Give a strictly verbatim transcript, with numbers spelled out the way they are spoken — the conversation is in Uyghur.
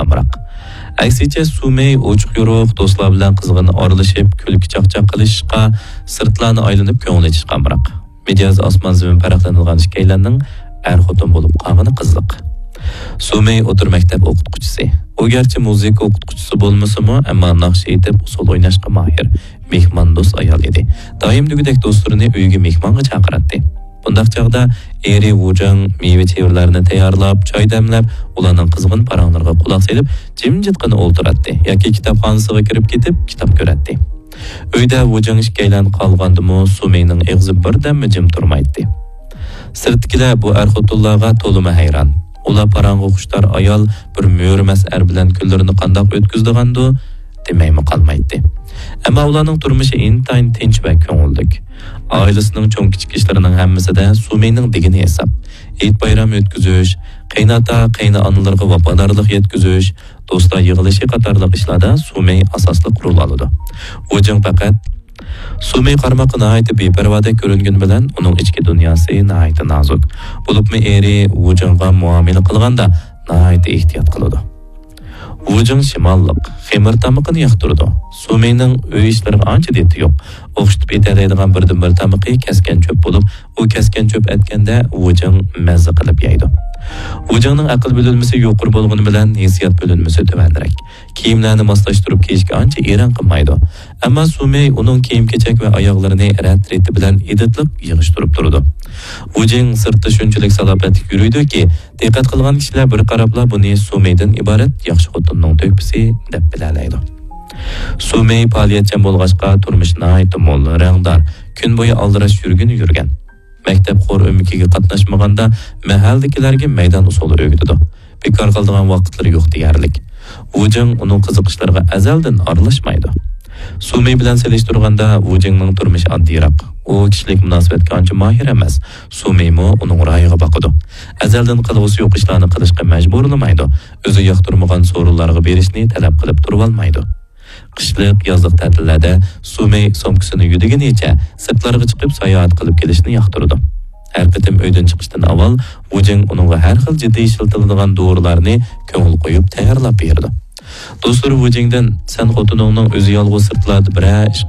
ئامراق. ئەكسىچە، سۇمېي ئوچۇق-يورۇق دوستلار بىلەن قىزغىن ئارىلىشىپ، كۈلكە-چاقچاق قىلىشىشقا، سىرتلارنى ئايلىنىپ كۆڭۈل ئېچىشقا ئامراق. مىجەز ئاسمان-زېمىن پەرقلىنىدىغان ئىككىيلەننىڭ ئەر-خوتۇن بولۇپ قالغىنى قىزىق. سۇمېي ئوتتۇرا مەكتەپ ئوقۇتقۇچىسى. ئۇ گەرچە مۇزىكا ئوقۇتقۇچىسى بولمىسىمۇ، ئەمما ناخشا ئېيتىپ، ئۇسسۇل ئويناشقا ماھىر، مېھماندوست ئايال ئىدى. دائىم دېگۈدەك دوستلىرىنى ئۆيىگە مېھمانغا چاقىراتتى. بۇنداق چاغدا ئېرى ۋۇجېڭ مېۋە-چېۋىلەرنى تەييارلاپ، چاي دەملەپ، ئۇلارنىڭ قىزغىن پاراڭلىرىغا قۇلاق سېلىپ، جىمجىتقىنا ئولتۇراتتى ياكى كىتابخانىسىغا كىرىپ كېتىپ، كىتاب كۆرەتتى. ئۆيدە ۋۇجېڭ ئىككىيلەن قالغاندىمۇ، سۇمېينىڭ ئېغىزى بىردەممۇ جىم تۇرمايتتى. سىرتتىكىلەر بۇ ئەر-خوتۇنلارغا تولىمۇ ھەيران. ئۇلار پاراڭغا خۇشتار ئايال بىر مۈرىمەس ئەر بىلەن كۈنلىرىنى قانداق ئۆتكۈزىدىغاندۇ، دېمەيمۇ قالمايتتى. ئەمما ئۇلارنىڭ تۇرمۇشى ئىنتايىن تىنچ ۋە كۆڭۈللۈك. ئائىلىسىنىڭ چوڭ-كىچىك ئىشلىرىنىڭ ھەممىسىدە سۇمېينىڭ دېگىنى ھېساب. ھېيت-بايرام ئۆتكۈزۈش، قېيىنئاتا، قېيىنئانىلىرىغا ۋاپادارلىق يەتكۈزۈش، دوستلار يىغىلىشى قاتارلىق ئىشلاردا سۇمېي ئاساسلىق رول ئالىدۇ. ۋۇجېڭ پەقەت سۇمېي قارىماققا ناھايىتى بىپەرۋادەك كۆرۈنگىنى بىلەن، ئۇنىڭ ئىچكى دۇنياسى ناھايىتى نازۇك. بولۇپمۇ ئېرى ۋۇجېڭغا مۇئامىلە قىلغاندا ناھايىتى ئېھتىيات قىلىدۇ. ۋۇجېڭ شىماللىق، خېمىر تامىقىنى ياقتۇرىدۇ. سۇمېينىڭ ئۆي ئىشلىرىغا ئانچە دىتى يوق. ئوخشىتىپ ئېتەلەيدىغان بىردىنبىر تامىقى كەسكەن چۆپ بولۇپ، ئۇ كەسكەن چۆپ ئەتكەندە ۋۇجېڭ مەززە قىلىپ يەيدۇ. ۋۇجېڭنىڭ ئەقىل بۆلۈنمىسى يۇقىرى بولغىنى بىلەن، ھېسسىيات بۆلۈنمىسى تۆۋەنرەك. كىيىملەرنى ماسلاشتۇرۇپ كىيىشكە ئانچە ئېرەن قىلمايدۇ. ئەمما سۇمېي ئۇنىڭ كىيىم-كېچەك ۋە ئاياغلىرىنى رەت-رېتى بىلەن ئىدىتلىق يىغىشتۇرۇپ تۇرىدۇ. ۋۇجېڭ سىرتتا شۇنچىلىك سالاپەتلىك يۈرىدۇكى، دىققەت قىلغان كىشىلەر بىر قاراپلا بۇنى سۇمېيدىن ئىبارەت ياخشى خوتۇننىڭ تۆھپىسى دەپ بىلەلەيدۇ. سۇمېي پائالىيەتچان بولغاچقا، تۇرمۇشى ناھايىتى مول، رەڭدار، كۈن بويى ئالدىراش يۈرگىنى يۈرگەن. مەكتەپ خور ئۆمىكىگە قاتناشمىغاندا، مەھەللىدىكىلەرگە مەيدان ئۇسسۇلى ئۆگىتىدۇ. بىكار قالىدىغان ۋاقىتلىرى يوق دېيەرلىك. ۋۇجېڭ ئۇنىڭ قىزىقىشلىرىغا ئەزەلدىن ئارىلاشمايدۇ. سۇمېي بىلەن سېلىشتۇرغاندا، ۋۇجېڭنىڭ تۇرمۇشى ئاددىيراق. ئۇ كىشىلىك مۇناسىۋەتكە ئانچە ماھىر ئەمەس. سۇمېيمۇ ئۇنىڭ رايىغا باقىدۇ. ئەزەلدىن قىلغۇسى يوق ئىشلارنى قىلىشقا مەجبۇرلىمايدۇ. ئۆزى ياقتۇرمىغان سورۇنلارغا بېرىشنى تەلەپ قىلىپ تۇرۇۋالمايدۇ. قىشلىق، يازلىق تەتىللەردە سۇمېي سومكىسىنى يۈدىگىنىچە سىرتلارغا چىقىپ ساياھەت قىلىپ كېلىشنى ياقتۇرىدۇ. ھەر قېتىم ئۆيدىن چىقىشتىن ئاۋۋال ۋۇجېڭ ئۇنىڭغا ھەر خىل جىددىي ئىشلىتىلىدىغان دورىلارنى كۆڭۈل قويۇپ تەييارلاپ بېرىدۇ. دوستلىرى ۋۇجېڭدىن، «سەن خوتۇنۇڭنىڭ ئۆزى يالغۇز سىرتلاردا بىرەر ئىش